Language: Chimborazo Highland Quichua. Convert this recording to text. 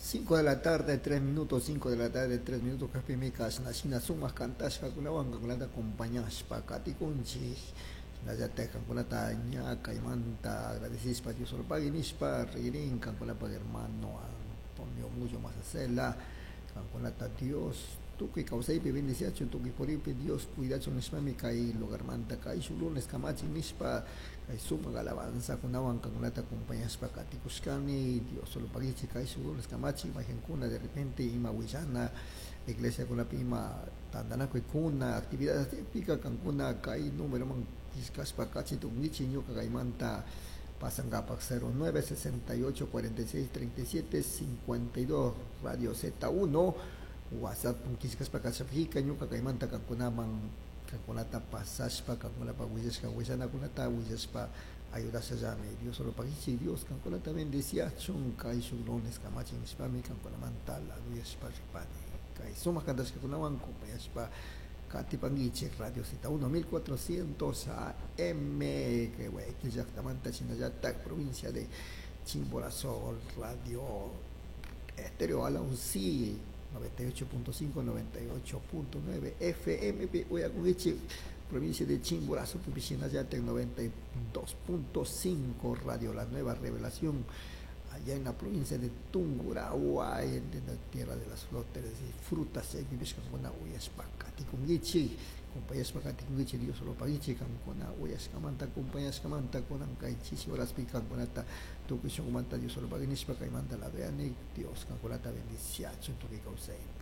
5 de la tarde, 3 minutos, 5 de la tarde, 3 minutos, cajpimi kashna shina sumak kantashkakunawan kankunata acompañashpa katikunchik. Shinallatak kankunata ña kaymanta agradecishpa Dios solo pagui nishpa ririn kankunapak hermano Antonio Muyo Masacela, kankunata Dios tukuy kawsaypi bendiciachun, tukuy puripi Dios cuidachun nishpami kay lugarmanta kay shuk lunes kamachin nishpa kay sumak alabanzakunawan kankunata acompañashpa katikushkani. Dios solo paguichi kay shuk lunes kamachin mayjankuna de repente ima willana iglesiakunapi ima tantanakuykuna actividades pika kankuna kay numeroman killkashpa kachi tukunkichik ñuka kaymanta pasankapak 09 68 46 37 52 Radio Z1 WhatsApp killkashpa kachapika ñuka kaymanta kankunaman kankunata pasashpa kankunapak willashka willanakunata willashpa ayudashallami. Dios solo paguichi, Dios kankunata bendiciachun kay shuk lunes kamachin nishpami kankunamanta laduyashpa ripani. Kay sumak kantashkakunawan acompañashpa katipankichik Radio Z1 1400 AM que Guayaquil llaktamanta shinallatak provincia de Chimborazo, Radio Estéreo Alauncí 98.5, 98.9 FM uyakunkichik provincia de Chimborazo, shinallatak 92.5 Radio La Nueva Revelación allá en la provincia de Tungurahua, en la tierra de las flores y frutas, chaypipishkakuna uyashpa katikunkichik, compañashpa katikunkichik, Dios solo paguichik, kankuna uyashkamanta, compañashkamanta, kunan kay chishi horaspi kankunata tukuy shunqumanta Dios solo pagui nishpa kaymanta ladoyani, Dios kankunata bendiciachun tukuy kawsaypi.